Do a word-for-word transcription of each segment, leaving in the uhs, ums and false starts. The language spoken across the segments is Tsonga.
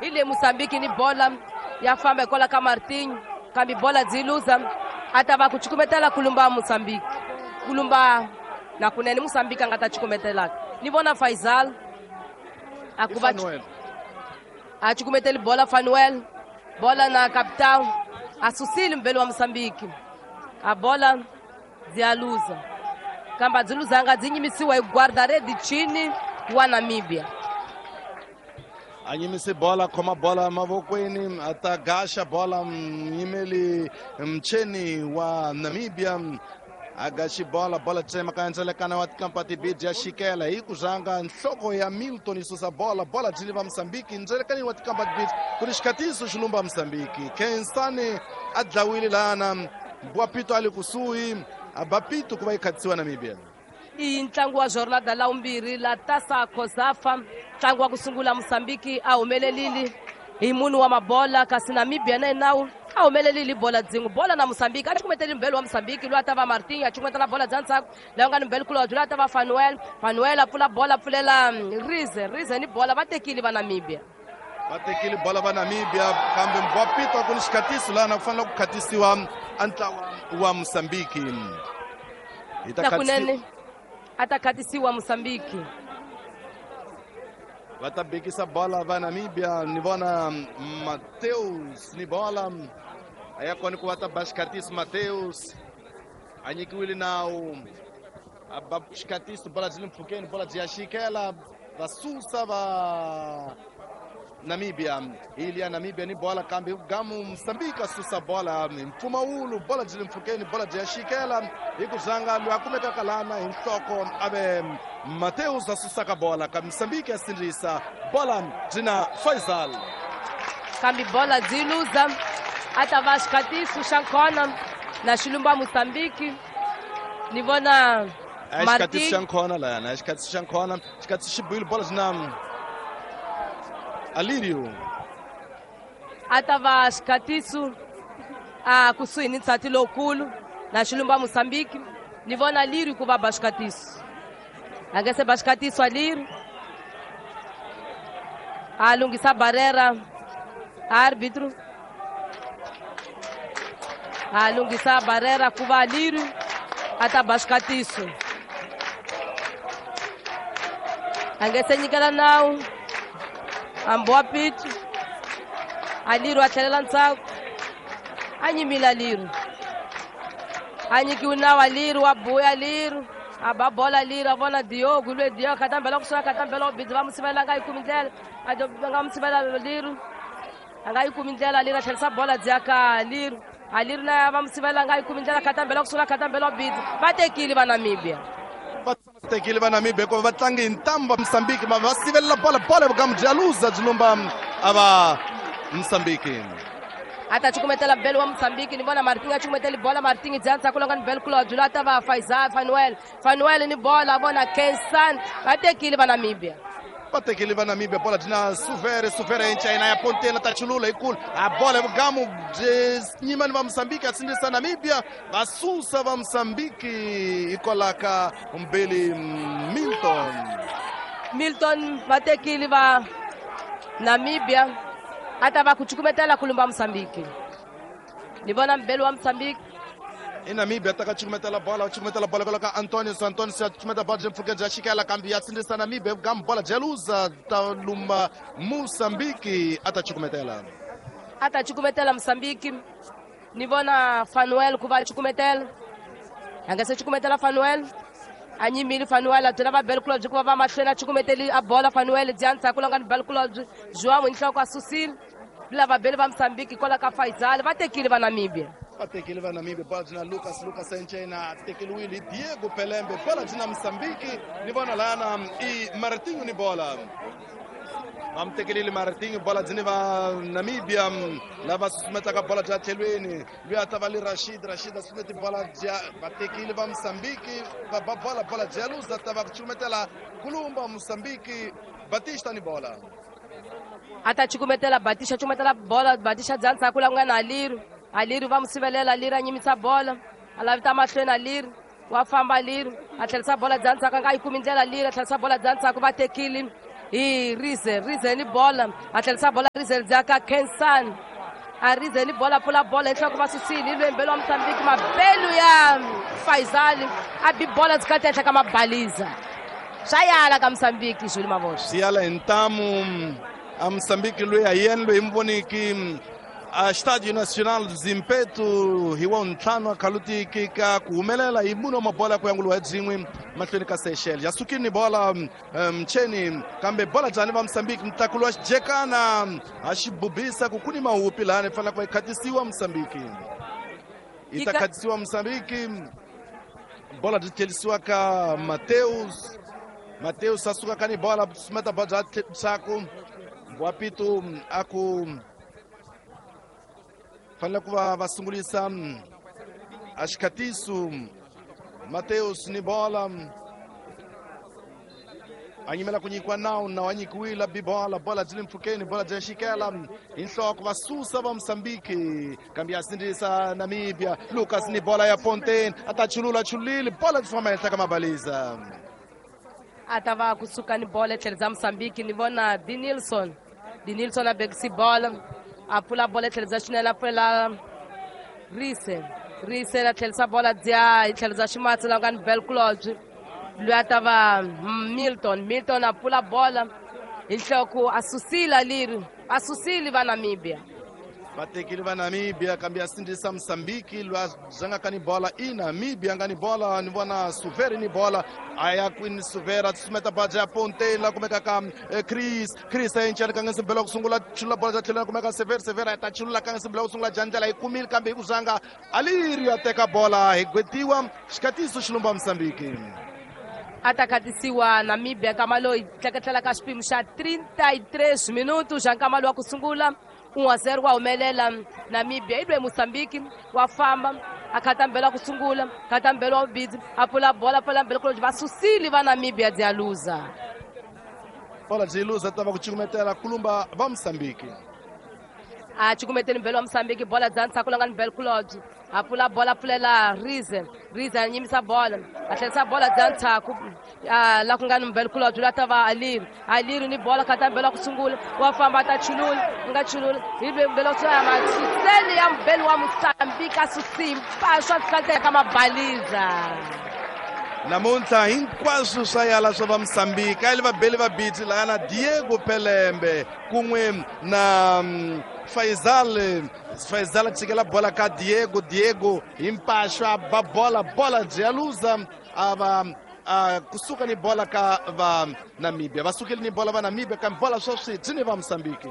Hi le Mozambique ni bola ya famba hikwalaho ka Martinho, kambe bola byi luza, a ta va ku cukumetela kulumba Mozambique, kulumba na kunene Mozambique a nga ta cukumetelaka. Ni vona Faisal a ku va a cukumeteli bola Fanuel, bola na capitão a susile mbele wa Mozambique, a bola byi ya luza, kambe a byi luzanga, byi nyimisiwa hi guarda-rede Chini wa Namibia. A nyimise bola, khoma bola mavokweni, a ta gaxa bola muyimeli Mcheni wa Namibia, a gaxi bola, bola tsema ka ndzelekana wa tikampati bidi ya xikela hi ku zanga nhloko ya Milton yi susa bola, bola byi va Mozambique ndzelekanini wa tikampati bidi ku ri xikhatiso xi lumba Mozambique. Khensani a dlawile lana, Mbwapito a le kusuhi, a ba pito ku va yi khatisiwa Namibia. I ntlangu wa jornada la vumbirhi la Tasa Kosafa, ntlangu wa ku sungula Mozambique a humelelile hi munhu wa mabola, kasi Namibia na yena a humelelile bola dzin'we. Bola na Mozambique a cukumeteli mbele wa Mozambique loyi a ta va Martin, a cukumetela bola bya ndzhaku laha nga ni mbele kulobye loyi a ta va Fanuel. Fanuel a pfula bola, pfulela Rize, Rize ni bola va tekile va Namibia. Va tekile bola va Namibia, kambe Mbwapito ku ni xikhatiso lana ku fanele ku khatisiwa a ntlawa wa Mozambique. Hi ta kunene a ta khatisiwa Mozambique. Va ta bekisa bola va Namibia, ni vona Mateus ni bola a ya kona ku va ta ba xikhatiso. Mateus a nyikiwile nawu, a ba xikhatiso, bola byi le mpfhukeni, bola byi ya xikela, va susa va Namibia. Ili ya Namibia ni bola, kambe gamu Mozambique a susa bola hi mpfumawulo, bola byi le mpfhukeni, bola byi ya xikela hi ku zanga loyi a kumekaka lana hi nhloko a ve Mateus a susaka bola, kambe Mozambique ya sindzisa bola byi na Faisal, kambe bola byi luza, a ta va xikhatiso xa nkhona na xilumba Mozambique. Ni vona xikhatiso xa nkhona layana, xikhatiso xa nkhona, xikhatiso xi buyile, bola byi na Alirio, a ta va xikhatiso a kusuhi ni nsati lowukulu na xilumba Mozambique. Ni vona Alirio ku va ba xikhatiso, a nge se ba xikhatiso Alirio, a lunghisa barrera árbitro, a lunghisa barrera ku va Alirio a ta ba xikhatiso, a nge se nyikela nawu Ambwapito. Alirio a tlhelela ndzhaku, a nyimile Alirio, a nyikiwe nawu Alirio, wa buya Alirio, a ba bola Alirio, a vona Diogo lwe Diogo khatambela ku swa khatambela bidzi va musivela nga yi kumi ndlela, a nga musivela Alirio, a nga yi kumi ndlela Alirio, a tlherisa bola byi ya ka Alirio, Alirio na va musivela nga yi kumi ndlela, khatambela ku sula khatambela bidzi va tekile va Namibia. Va tekile va Namibia hikuva va tlange hi ntambu va Mozambique, va va sivelela bola, bola vugamu bya luza byi lumba a va Mozambique. A ta cukumetela bele wa Mozambique, ni vona Martin a cukumeteli bola, Martin bya ndzhaku longa ni bele kulobye loyi a ta va Faisal Fanuel, Fanuel ni bola vona Kensan, va tekile va Namibia. Va tekile va Namibia, bola byi na Suvere, Suvere enchina ya pontela ta chulula yikulu, a bola vugamu byi nyimani va Mozambique a sindzisa Namibia, va susa va Mozambique hikwalaho ka mbeli Milton. Milton va tekile va Namibia, a ta va ku cukumetela ku lumba Mozambique. Ni vona mbeli wa Mozambique i Namibia ta ka cukumetela bola, cukumetela bola kwala ka Antonio, Antonio ya cukumeta bola byi mpfhuka bya xikela, kambe ya sindzisa Namibia gamu bola bya luza ta lumba Mozambique, a ta cukumetela, a ta cukumetela Mozambique. Ni vona Fanuel ku va cukumetela, a nga se cukumetela Fanuel, a nyimile Fanuel, a byela va bele kulobye ku va va mahlweni, a cukumeteli a bola Fanuel bya ndzhaku longa ni bele kulobye João hi nhloko a susile lava bele va Mozambique kwala ka Faisal, va tekile va Namibia. Va tekile va Namibia, bola byi na Lucas, Lucas Enchena tekeliwile hi Diego Pelembe, bola byi na Mozambique. Ni vona lana i Martinho ni bola, va mi tekelile Martinho, bola byi ni va Namibia lava susumetaka bola bya tlhelweni, loyi a ta va le Rashid, Rashid a susumeti bola bya va tekile va Mozambique, va ba bola, bola bya luza ta va ku cukumetela kulumba Mozambique, Batista ni bola. A ta cukumetela Batista, cukumetela bola Batista bya ndzhaku la ku nga na Alirio, Alirio va mu sivelela, Alirio a nyimisa bola, a lavita mahlweni Alirio, wa famba Alirio, a tlherisa bola bya ndzhaku, a nga yi kumi ndlela Alirio, a tlherisa bola bya ndzhaku, va tekile Hi Rize, Rize ni bola, a tlherisa bola Rize ndzhaka Kensan. A Rize ni bola pfula bola enhloko va susile lwembelo wa Mozambique mabelu ya Faisal a bi bola dzikati ehenhla ka mabaliza. Swa yala ka Mozambique Jules Mavoxa. Swi yala hi ntamu a Mozambique loyi a yena loyi mi voniki a Estádio Nacional do Zimpeto hi wa ntlhanu a khalutiki ka ku humelela hi munhu wa mabola ku yanguliwa hi byin'we mahlweni ka Seychelles. Ya sukile ni bola mcheni kambe bola jani va Mozambique mutlakulo wa xijekana a xi bubisa ku ku ni mahupi lahani fanele ku va yi khatisiwa Mozambique. Yi ta khatisiwa Mozambique. Bola byi tlherisiwa ka Mateus. Mateus a suka ka ni bola sumeta bola bya ndzhaku Guapito a ku fanele ku va va sungulisa a xikhatiso. Mateus ni bola a yimela ku nyikiwa nawu, nawu a nyikiwile bi bola, bola byi le mpfhukeni, bola bya xikela hi nhloko va susa va Mozambique kambe ya sindzisa Namibia. Lucas ni bola ya Pontaine a ta chulula chulile bola byi famba henhla ka mabaliza. A ta va kusuka ni bola etlhelo Mozambique ni vona Di Nilsson. Di Nilsson a bekisi bola a pfula bola etlhelo xinene a pfulela Rise. Rise a tlherisa bola dya hi tlhelo ximatsi la nga ni Belclodge loyi a ta va Milton. Milton a pfula bola hi nhloko a susile leri a susile va Namibia. Va tekile va Namibia kambe ya sindzisa Mozambique loyi a zangaka ni bola i Namibia nga ni bola ni vona Suveri ni bola a ya kwini Suvera tsumeta baja ya Pontaine la kumeka ka Chris. Chris a encana ka ngese mbela ku sungula chula bola ja tlhela kumeka Sever. Sever a ta chulula ka ngese mbela ku sungula jandlela yi kumile kambe hi ku zanga Aliri a teka bola hi gwetiwa xikhatiso xilumba Mozambique. A ta khatisiwa Namibia nkama loyi tleketlela ka xipimo xa trinta e três minutos xa nkama lowu wa ku sungula. um a zero wa humelela Namibia i lwe Mozambique wa famba a khata mbelo wa ku sungula khata mbelo wa vubidzi a pfula bola a pfula mbelo va susile va Namibia dya luza. Bola byi luza ta va ku cukumetela kulumba va Mozambique. A cukumeteli mbelo wa Mozambique bola dya ndzhaku la nga ni Belclodge a pfula bola a pfulela Rize. Rize a nyimisa bola a tlherisa bola dya ndzhaku la ku nga ni Belclodge loyi a ta va Aliri. Aliri ni bola khata mbelo wa ku sungula wa famba a ta chulula nga chulula hi mbelo wa masuseli ya mbelo wa Mozambique a susimpa swa tlhela ka mabaliza. Namuntlha hinkwaswo swa yala swa va Mozambique a yi va beli va biti laha na Diego Pelembe kun'we na Faisal. Faisal a tshikela bola ka Diego. Diego hi mpaxo a ba bola, bola byi ya luza a va a kusuka ni bola ka va Namibia. Va sukile ni bola va Namibia kambe bola sweswi byi ni va Mozambique.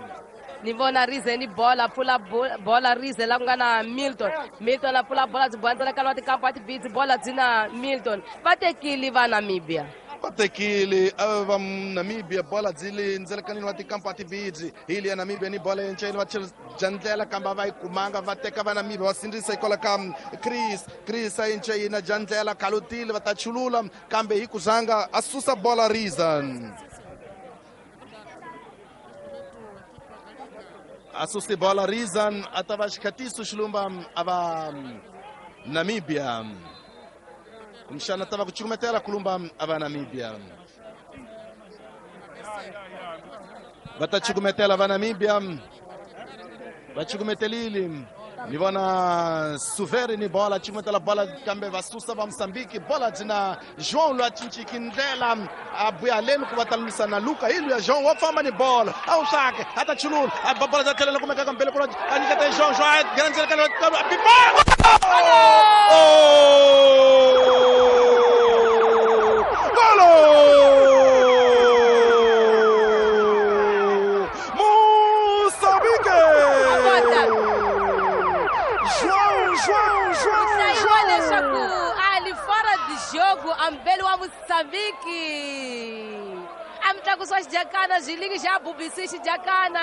Ni vona Rize ni bola pfula bola Rize la ku nga na Milton. Milton a pfula bola byi bola ka tikampa a tibitsi bola byi na Milton. Va tekile va Namibia. Va tekile va Namibia bola byi le ndzelekanini wa tikampa tibitsi hi le ya Namibia ni bola yenceni va jandlela kambe va yi kumanga va teka va Namibia va sindzisa hikwalaho ka Chris. Chris a yence yina jandlela khalutile va ta chulula kambe hi ku zanga a susa bola Rizan. A susi bola Rizan a ta va xikhatiso xilumba a va Namibia. Kumbexana ta va ku cukumetela kulumba a va Namibia. Va ta cukumetela va Namibia. Va cukumetelile. Ni vona Suveri ni bola cukumetela bola kambe va susa va Mozambique bola byi na João loyi a cinciki ndlela a buya leni ku va ta lwisana Luka hi luya João wa famba ni bola a wu swake a ta chulula a ba bola bya tlhelela kumeka ka mbele ku a nyiketa João. João a grandzela ka Golo! Moçambique! João, João, João, João! Ali fora de jogo, ambelo wa Moçambique. A mitlakuso wa xijakana xilingi xa bubisi xijakana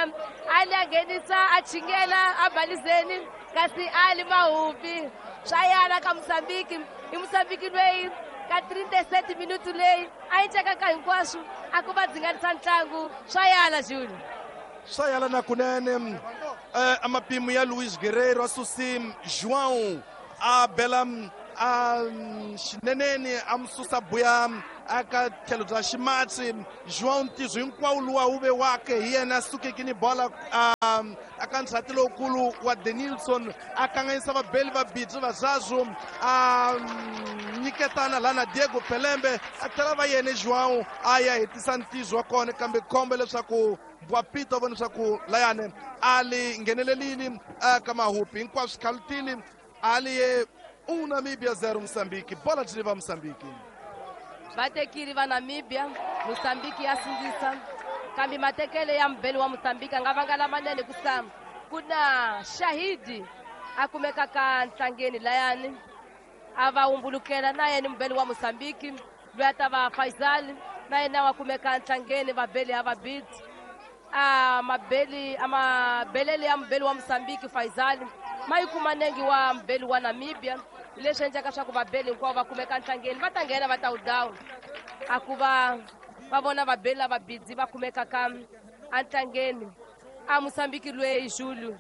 ali a nghenisa a chingela a balizeni kasi ali mahupi swa yala ka Mozambique. I Mozambique loyi ka trinta e sete minuto leyi a yi cekaka hinkwaswo a ku va dzinganisa ntlangu swa yala Jules. Swa yala na kunene a mapimo ya Luis Guerreiro a susi João a bela a xineneni a mu susa buya aka tlhelo bya ximatsi João ntizo hinkwawo luwa wu ve wake hi yena a sukeke ni bola aka ndzhati lowukulu wa Denilson a kanganyisa vabeli va bidzi va Zazu a nyiketana laha na Diego Pelembe a tlhela va yena João a ya hetisa ntizo wa kona kambe khombo leswaku Bwapito vona leswaku layani a li nghenelelile aka mahupi hinkwaswo swi khalutile a li ye um Namíbia zero Moçambique bola byi va Moçambique vatekile va Namibia Moçambique ya sindzisa kambe matekele ya mubeli wa Moçambique a nga vanga lamanene ku sa ku na Shahidi a kumeka ka ntlangeni layani a va humbulukela na yena mubeli wa Moçambique loyi a ta va Faisal na yena wa kumeka ntlangeni vabeli ha vabiti a mabeli a mabelele ya mubeli wa Moçambique Faisal ma yi kuma nengi wa mubeli wa Namibia leswi endlaka swa ku vabeli hinkwavo va kumeka ntlangeni va ta nghena va ta wu dawu a ku va va vona vabeli lava bidzi va kumeka ka entlangeni a Moçambique loyi Julu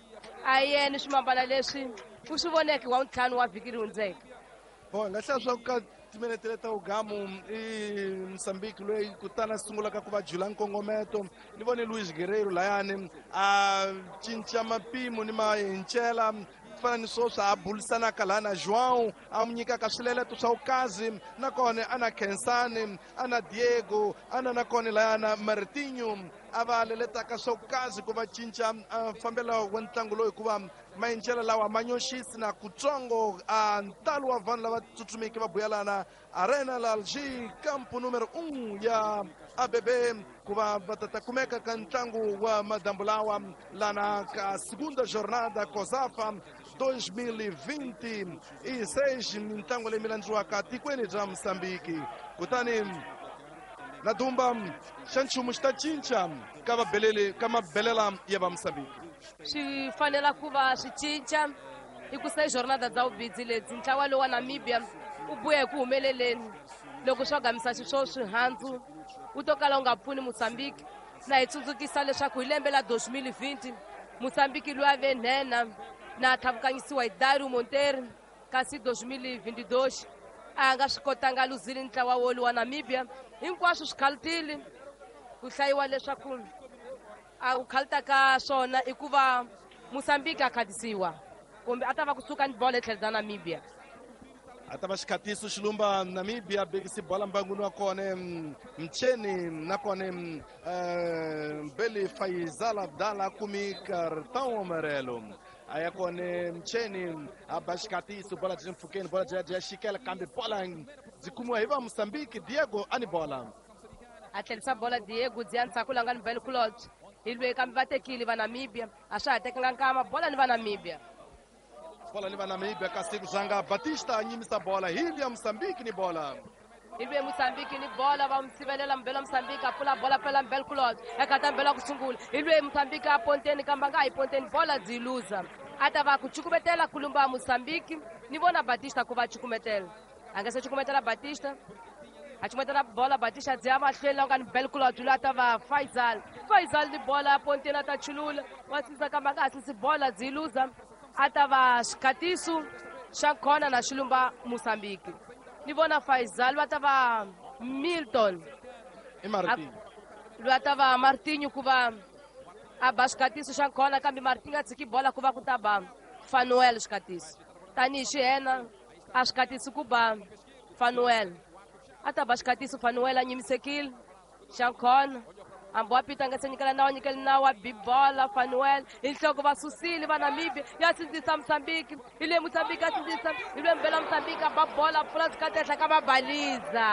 a yena swimambana leswi u swi voneke wa ntlhanu wa vhiki ri hundzeke bon nga hlaya swa ku ka timinete leta ugamu i Moçambique loyi kutani a sungulaka ku va jula nkongometo ni vone Luis Guerreiro layani a cinca mapimo ni mahincela fana ni swoswi a bulisanaka laha na João a n'wi nyikaka swileleto swa vukazi nakona a na Khensani a na Diego a na nakona layana Martinho a va leletaka swa vukazi ku va cinca fambelo wa ntlangu lowu hikuva mahincela lawa ma nyoxisi na kutsongo a ntalo wa vanhu lava tsutsumeke va buyelana Arena Lalji campo número um ya A B B ku va va ta ta kumeka ka ntlangu wa madambu lawa lana ka segunda jornada COSAFA dois mil e vinte e seis mintlangu leyi mi landziwaka tikweni bya Moçambique kutani na dumba xa nchumu xi ta cinca ka vabeleli ka mabelela ya va Moçambique swi fanela ku va swi cinca i ku se jornada bya vubidzi lebyi ntlawa lowu wa Namibia u buya hi ku humeleleni loko swo gamisa xiswo swihandzu wu to kala wu nga pfuni Moçambique na hi tsundzukisa leswaku hi lembe la dois mil e vinte Moçambique loyi a ve nhenha na tlhavukanyisiwa hi Dario Monteiro kasi dois mil e vinte e dois a nga swi kotanga a luzile ntlawa wolu wa Namibia hinkwaswo swi khalutile ku hlayiwa leswaku a ku khaluta ka swona i ku va Moçambique a khatisiwa kumbe a ta va kusuka ni bolo etlhelo bya Namibia a ta va xikhatiso xilumba Namibia bekisi bola mbanguni wa kona Mcheni nakona Mbeli Faisal Abdala kumi cartão amarelo a ya kona Mcheni a ba xikhatiso bola byi mpfhukeni bola byi ya xikela kambe bola byi kumiwa hi va Moçambique Diego a ni bola a tlherisa bola Diego byi ya ndzhaku langa ni Bel Claude hi lweyi kambe va tekile va Namibia a swa ha tekanga nkama bola ni va Namibia bola ni va Namibia kasi ku zanga Batista a nyimisa bola hi ya Moçambique ni bola hi lweyi Moçambique ni bola va n'wi sivelela mubeli wa Moçambique a pfula bola pela Mbel Claude eka mbela ku sungula hi lweyi Moçambique a ponteni kambe a nga ha yi ponteni bola byi luza a ta va ku cukumetela kulumba Moçambique ni vona Batista ku va cukumetela a nga se cukumetela Batista a cukumetela bola Batista byi ya mahlweni la nga ni Bel Claude loyi a ta va Faisal Faisal ni bola a ponteni a ta chulula wa sindzisa kambe a nga ha sindzisi bola byi luza a ta va xikhatiso xa khona na xilumba Moçambique ni vona Faisal va ta va Milton i Martinho loyi a ta va Martinho ku va a ba xikhatiso xa khona kambe Martinho a tshiki bola ku va ku ta ba Fanuel xikhatiso tanihi xihena a xikhatiso ku ba Fanuel a ta ba xikhatiso Fanuel a nyimisekile xa khona hambi wa pita nga se nyikela nawu nyikela nawu wa bibola Fanuel hi nhloko va susile va Namibia ya sindzisa Moçambique hi le Moçambique a sindzisa hi lwe mbela Moçambique a ba bola pfula zikati ehenhla ka mabaliza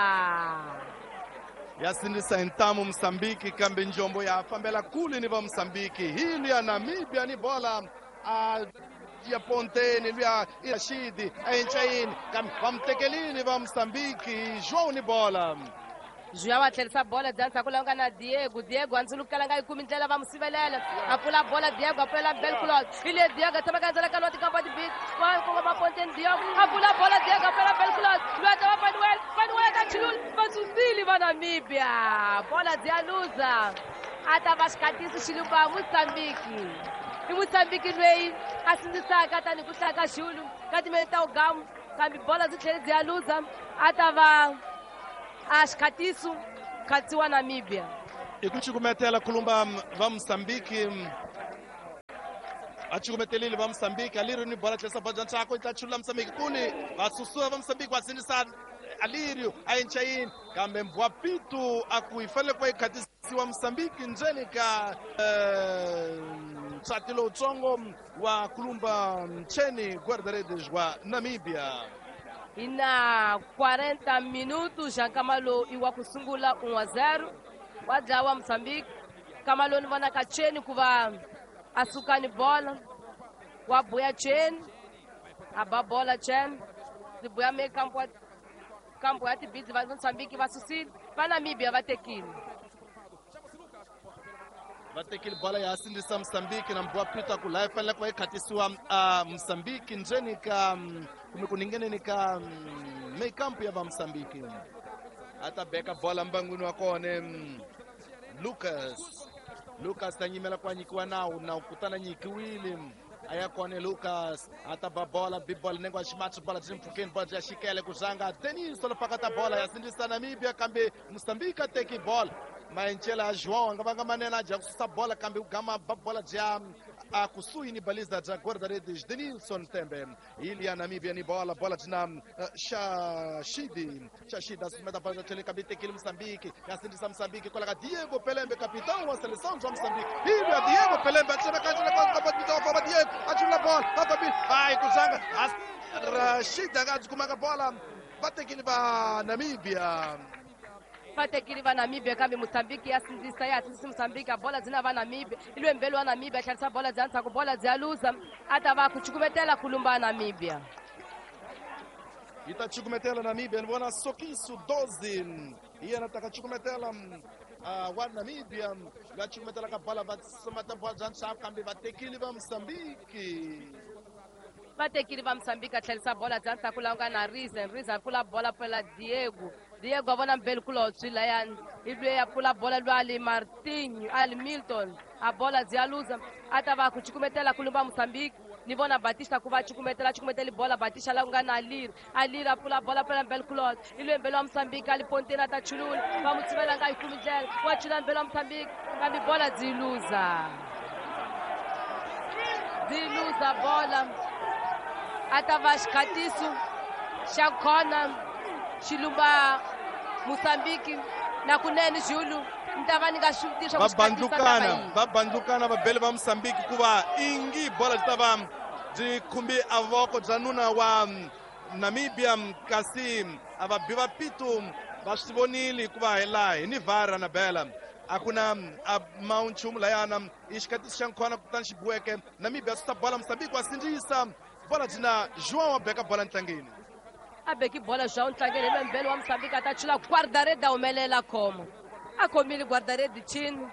ya sindzisa hi ntamu Moçambique kambe njombo ya fambela kule ni va Moçambique hi luya Namibia ni bola a ya ponteni luya Rashidi a encayini kambe va mu tekelini va Moçambique João ni bola João a tlherisa bola bya ndzhaku la nga na Diego Diego a ndzulukela nga yi kumi ndlela va mu sivelela a pfula bola Diego a pfulela Bel Claude hi le Diego a tshama ka ndzela ka nwa tikamba tibit va kongoma ponteni Diego a pfula bola Diego a pfulela Bel Claude loyi a ta va Fanuel Fanuel ta chulula va susile va Namibia bola byi ya luza a ta va xikhatiso xilumba Moçambique i Moçambique loyi a sindzisaka tanihi ku hlaya ka Xulu ka timele ta ugamu kambe bola byi tlhele byi ya luza a ta va A xikhatiso khatsiwa Namibia. I ku cukumetela kulumba va Mozambique. A cukumetelile va Mozambique Alirio ni bola tlhesa bola ntsako ta chula Mozambique kuni va susua va Mozambique va sinisa Alirio a enchayini kambe Mbwapitu a ku yi fanele ku va yi khatisiwa Mozambique ndzeni ka ntsati lowutsongo wa kulumba Mcheni guarda-redes wa Namibia. Hi na quarenta minutos já nkama lowu i wa ku sungula un a zero wa dlawa Mozambique. Nkama lowu ni vonaka Cheni ku va a suka ni bola wa buya Cheni a ba bola Cheni ndzi buya me kampo wa kampo ya tibidzi va Mozambique va susile va Namibia va tekile. Va tekile bola ya sindzisa Mozambique na Mbwapitu a ku laha yi fanele ku va yi khatisiwa a Mozambique ndzeni ka kumbe ku ningeneni ka meikampu ya va Mozambique. A ta beka bola mbangwini wa kona Lucas. Lucas ta nyimela ku a nyikiwa nawu nawu kutani a nyikiwile a ya kona Lucas a ta ba bola bi bola nenge wa ximatsi bola byi mpfhukeni bola byi ya xikele ku zanga Denis lopakata bola ya sindzisa Namibia kambe Mozambique a teki bola maenchela ya João a nga vanga manene a dya ku susa bola kambe ku gama ba bola bya a kusuhi ni baliza bya guarda-redes Denilson Tembe. Ili ya Namibia ni bola bola byi na Shashidi Shashidi a sumeta bola bya tlhelo kambe tekile Mozambique ya sindzisa Mozambique kwala ka Diego Pelembe capitão wa seleção bya Mozambique. Ili ya Diego Pelembe a tsena ka tsena ka ka ka Diego a chula bola a fambi ai ku zanga Rashid a nga byi kumaka bola va tekile va Namibia. Va tekile va Namibia kambe Mozambique ya sindzisa ya hatlisisa Mozambique a bola byi na va Namibia i lwembelo wa Namibia a tlherisa bola bya ndzhaku bola bya luza a ta va ku cukumetela kulumba Namibia. Yi ta cukumetela Namibia ni vona Sokiso doze hi yena ta ka cukumetela wa Namibia va cukumetela ka bola va sumata bola bya ndzhaku kambe va tekile va Mozambique. Va tekile va Mozambique a tlherisa bola bya ndzhaku laha ku nga na Rizen. Rizen a pfula bola pfula Diego. Diego a vona mbeli kulobyi layani hi lweyi a pfula bola lwa ali Martinho ali Milton a bola byi ya luza a ta va ku cukumetela kulumba Mozambique. Ni vona Batista ku va cukumetela cukumeteli bola Batista laha ku nga na Aliri. Aliri a pfula bola pfula mbeli kulobyi i lweyi mbeli wa Mozambique ali ponteni a ta chulula va mu tshivela nga yi kumi ndlela wa chula mbeli wa Mozambique kambe bola byi luza byi luza bola a ta va xikhatiso xa khona xilumba Mozambique na kunene Julu ni ta va ni nga swi vutisa va bandlukana va bandlukana vabeli va Mozambique ku va ingi bola byi ta va byi khumbi a voko bya nuna wa Namibia kasi a va bi va pitu va swi vonile hikuva hi laha hi ni VAR na bela a ku na a ma nchumu layana i xikhatiso xa nkhona kutani xi biweke Namibia susa bola Mozambique wa sindzisa bola byi na João wa beka bola ntlangeni. A beki bola João ntlangeni hi lwembelo wa Mozambique a ta chula guarda-redes a humelela khoma a khomile guarda-redes chini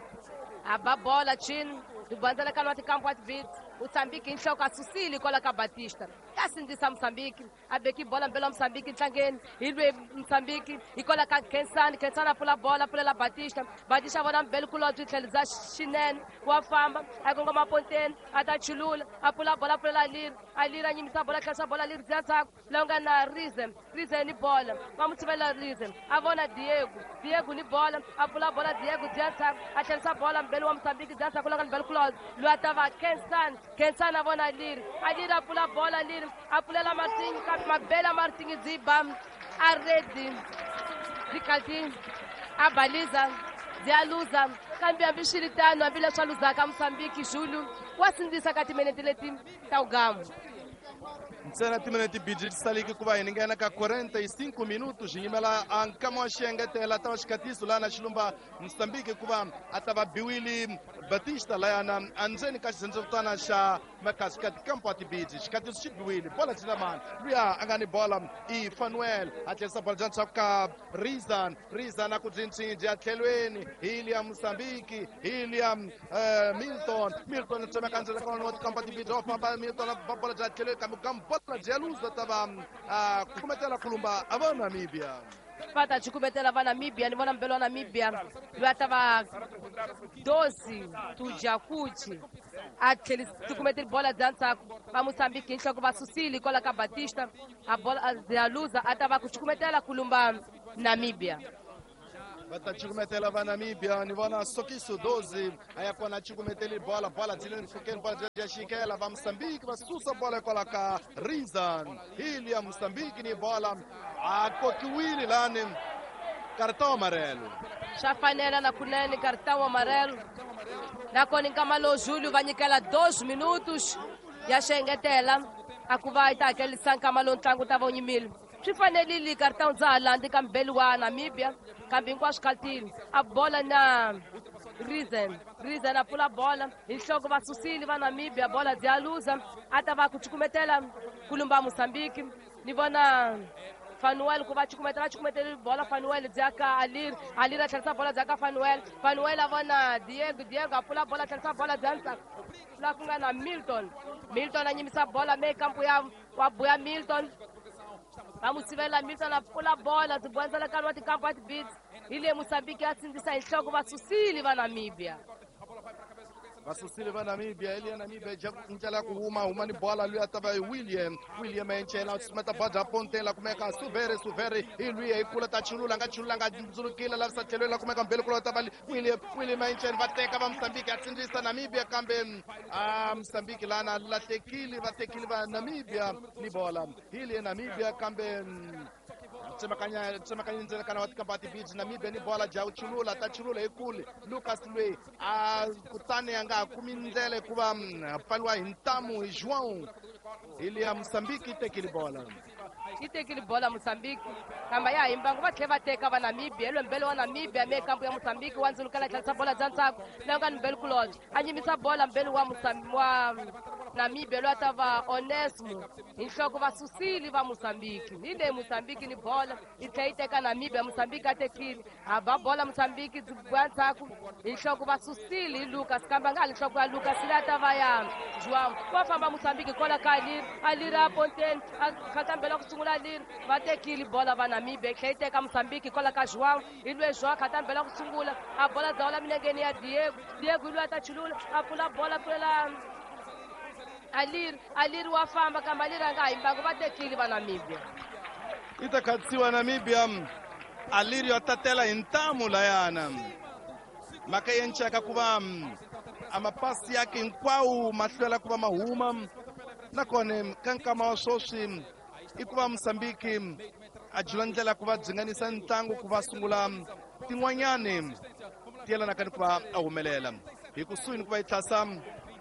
a ba bola chini ribandzela ka lwa tikampu wa tibiti Mozambique hi nhloko a susile kwala ka Batista ya sindzisa Mozambique a beki bola mbelo wa Mozambique ntlangeni hi lwe Mozambique hi kwala ka Khensani. Khensani a pfula bola a pfulela Batista. Batista a vona mbeli kulobyi tlhelo bya xinene wa famba a kongoma ponteni a ta chulula a pfula bola a pfulela Aliri. Aliri a nyimisa bola tlherisa bola Aliri bya ndzhaku laha ku nga na Rizen. Rizen ni bola va mu tshivela Rizen a vona Diego. Diego ni bola a pfula bola Diego bya ndzhaku a tlherisa bola mbeli wa Mozambique bya ndzhaku laha ku nga mbeli kulobyi loyi a ta va Khensani. Khensani a vona Aliri. Aliri a pfula bola Aliri a pfulela Martinho kambe mabela Martinho byi ba a redi byi kati a baliza byi ya luza kambe hambi swi ri tano hambileswi a luzaka Mozambique Julu wa sindzisa ka timinete leti ta wugamu. Ntsena timinete biji ti saliki ku va hi ninghena ka quarenta e cinco minutos hi yimela a nkama wa xiengetela ta va xikhatiso laha na xilumba Mozambique hikuva a ta va biwile Batista layana endzeni ka xirhendzevutana xa Makasikati kampo wa tibiji xikhatiso xi biwile bola byi na mani luya a nga ni bola i Fanuel a tlherisa bola bya ndzhaku ka Rizan. Rizan a ku byinchinji a tlhelweni hi liya Mozambique hi liya Milton. Milton a tsemeka ndzela ka wa tikampo wa tibiji wa famba Milton a ba bola bya tlhelweni kambe ku bola bya luza ta va cukumetela kulumba a va Namibia. Va ta cukumetela va Namibia ni vona mbelo wa Namibia loyi a ta va doze Tujakuchi a tlheli cukumeteli bola bya ndzhaku va Mozambique hi nhloko va susile kwala ka Batista a bola ya luza a ta va ku cukumetela kulumba Namíbia. Va ta cukumetela va Namíbia, ni vona Sokiso doze a ya kona cukumeteli bola, bola byi le mpfhukeni, bola byi ya xikela va Mozambique va susa bola hikwalaho ka Rizan hili ya Mozambique ni bola a kokiwile lani cartão amarelo. Swa fanela na kunene cartão amarelo. Nakona nkama lowu Júlio va nyikela dois minutos ya xengetela a ku va yi ta hakelisa nkama lowu ntlangu ta va wu nyimile. Swi fanerile cartão dza ha landzi ka mbeli wa Namíbia, kambe hinkwaswo khatile a bola na Reason. Reason a pfula bola hi nhloko va susile va Namíbia, bola dzi ya luza a ta va ku cukumetela ku lumba Mozambique. Ni vona Fanuel ku va cukumetela, va cukumetele bola Fanuel dzi ya ka Alir, Alir a tlherisa bola dzi ya ka Fanuel, Fanuel a vona Diego, Diego a pfula bola a tlherisa bola dzi ya ndzhaku la ku nga na Milton, Milton a nyimisa bola me kampu ya wa buya Milton va n'wi sivela Milton a pfula bola byi bondzela wa tikampu wa tibits hi le Mozambique ya sindzisa hi nhloko va susile va Namíbia. Va susile va Namíbia, eli ya Namíbia ndlela ku huma huma ni bola luya ta va William, William encela sumeta bola pontela la kumeka Suvere, Suvere hi luya hi kula ta chulula nga chulula nga ndzulukile lavisa tlhelo la kumeka mbele kula ta va William, William encela va teka va Mozambique a tsindzisa Namíbia kambe a Mozambique lana lahlekile va tekile va Namíbia ni bola hi le Namíbia kambe tsemakanya tsemakanya ndzela kana wa tikamba tibiji Namíbia ni bola ja chulula ta chulula hi kule Lucas lwe a kutani a nga ha kumi ndlela hikuva pfaliwa hi ntamu hi João hi le ya Mozambique yi tekile bola. Yi tekile bola Mozambique kambe ya ha yimbangu va tlhela va teka va Namíbia hi mbele wa Namíbia me kampu ya Mozambique wa ndzulukela tlherisa bola bya ndzhaku la nga ni mbele kulobye a nyimisa bola mbele wa Mozambique wa Namíbia loyi a ta va Onesmo hi nhloko va susile va Mozambique. Hi le Mozambique ni bola yi tlhela yi teka Namíbia, Mozambique a tekile a ba bola Mozambique byi bya ndzhaku hi nhloko va susile hi Lucas kambe a nga ha li nhloko ya Lucas leyi a ta va ya João. Va famba Mozambique kwala ka Alir, Alir a ponteni a khatambela ku sungula Alir va tekile bola va Namíbia yi tlhela yi teka Mozambique kwala ka João hi lwe João khatambela ku sungula a bola dzawula milengeni ya Diego, Diego hi lwe a ta chulula a pfula bola pfulela Alir, Alir wa famba kambe Alir a nga ha yimbangu va tekile va Namíbia. Yi ta khatsiwa Namíbia, Alir yo tatela hi ntamu layana mhaka yi enceka ku va a mapasi yake hinkwawo ma hlwela ku va ma huma nakona ka nkama wa sweswi i ku va Mozambique a jula ndlela ku va dzinganisa ntlangu ku va sungula tin'wanyani ti yelanaka ni ku va a humelela hi kusuhi ni ku va yi tlhasa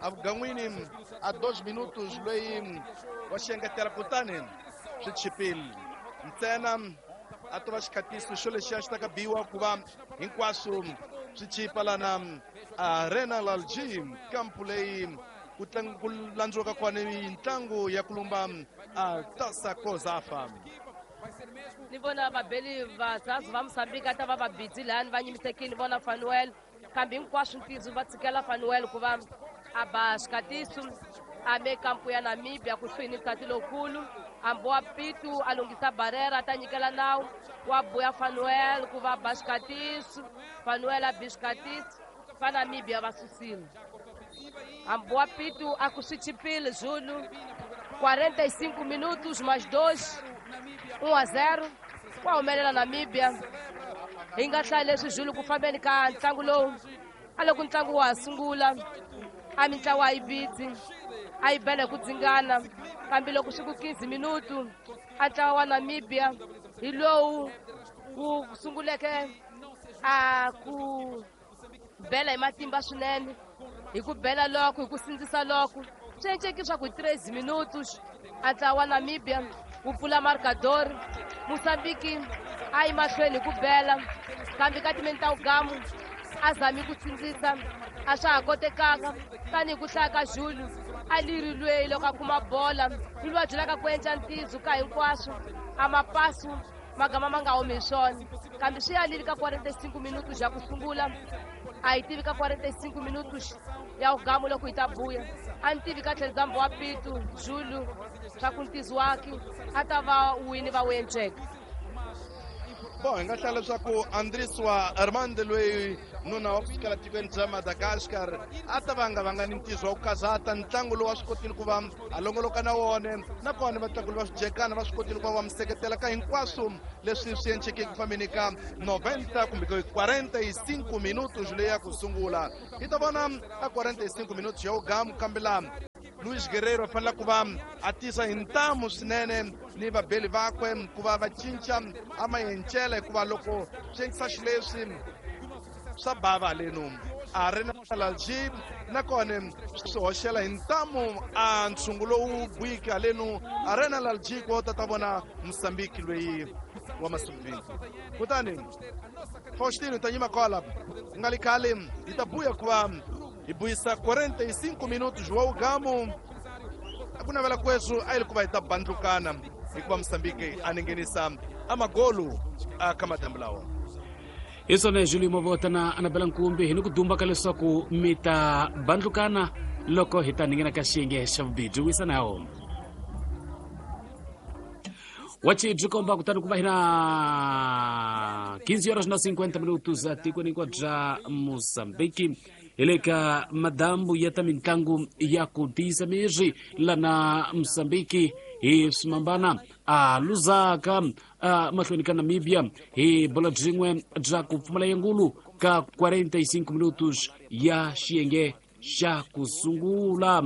avugan'wini a dois minutos loyi wa xengetela kutani swi chipile ntsena a to va xikhatiso xo lexiya xi ta ka biwa ku va hinkwaswo swi chipa lana Arena Lalji kampu leyi ku ku landziwaka kona ntlangu ya ku lumba a Taça COSAFA. Ni vona vabeli vazazi va Mozambique a ta va va busy lani va nyimisekile vona Fanuel kambe hinkwaswo ntizo va tshikela Fanuel ku va a ba xikatiso a me kampu ya Namíbia kusuhi ni nsati lowukulu ambo pitu a lunghisa barrera a ta nyikela nawu wa buya Fanuel ku va ba xikatiso Fanuel a bi xikatiso va Namíbia va susile ambo pitu a ku swi chipile Zulu quarenta e cinco minutos mais dois um a zero wa humelela Namíbia. Hi nga hlaya leswi Zulu ku fambeni ka ntlangu lowu a loko ntlangu wa ha sungula a mintlawa a yi bitsi a yi bela hi ku dzingana kambe loko swi ku quinze minuto a ntlawa wa Namíbia hi lowu wu sunguleke a ku bela hi matimba swinene hi ku bela loko hi ku sindzisa loko swi enceki swa ku hi treze minutos a ntlawa wa Namíbia wu pfula marcador. Mozambique a yi mahlweni hi ku bela kambe ka timeni ta wugamu a zami ku sindzisa a swa ha kotekanga tanihi ku hlaya ka Júlio a liri lweyi loko a kuma bola hi loyi a byelaka ku endla ntizo ka hinkwaswo a mapasu magama ma nga humi hi swona kambe swi yalile ka quarenta e cinco minutos ya ku sungula a yi tivi ka quarenta e cinco minutos ya wugamu loko yi ta buya a ni tivi ka tlhelo wa pitu Júlio swa ku ntizo wakhe a ta va wini va wu enceka. Bo hi nga hlaya leswaku Andriswa Armand loyi nuna wa kusukela tikweni bya Madagascar a ta va nga va nga ni ntizo wa ku kazata ntlangu lowu a swi kotile ku va a longoloka na wona, nakona vatlangi va swijekana va swi kotile ku va va mi seketela ka hinkwaswo leswi swi endlekeke ku fambeni ka noventa kumbe quarenta e cinco minutos leyi ya ku sungula. Hi ta vona a quarenta e cinco minutos ya ugamu, kambe laha Luis Guerreiro a fanele ku va a tisa hi ntamu swinene ni vabeli vakwe ku va va cinca a mayencela, hikuva loko swi endlisa xileswi swa bava halenu a ri na Lalji, nakona swi hoxela hi ntamu a ntshungu lowu buyiki halenu a ri na Lalji ku ta ta vona Mozambique loyi wa Masumbini. Kutani Faustino ta nyima kwala ku nga li khale hi ta buya ku va hi buyisa quarenta e cinco minutos wa ugamu. A ku navela kweswo a yi ri ku va hi ta bandlukana hikuva Mozambique a ningenisa amagolu a ka madambu lawa. Hi swona Julio Mavota na Anabela Nkumbi hi ni ku dumba ka leswaku mi ta bandlukana loko hi ta ningena ka xiyenge xa vubirhi. Wisa na wona wachi byi komba kutani ku va hi na quinze horas na cinquenta minutos atikweni hinkwaro bya Mozambique hi le ka madambu ya ta mitlangu ya ku tiyisa miri lana Mozambique hi swimambana a luzaka a mahlweni ka Namibia hi bola byin'we bya ku pfumala yengulu ka quarenta e cinco minutos ya xiyenge xa ku sungula.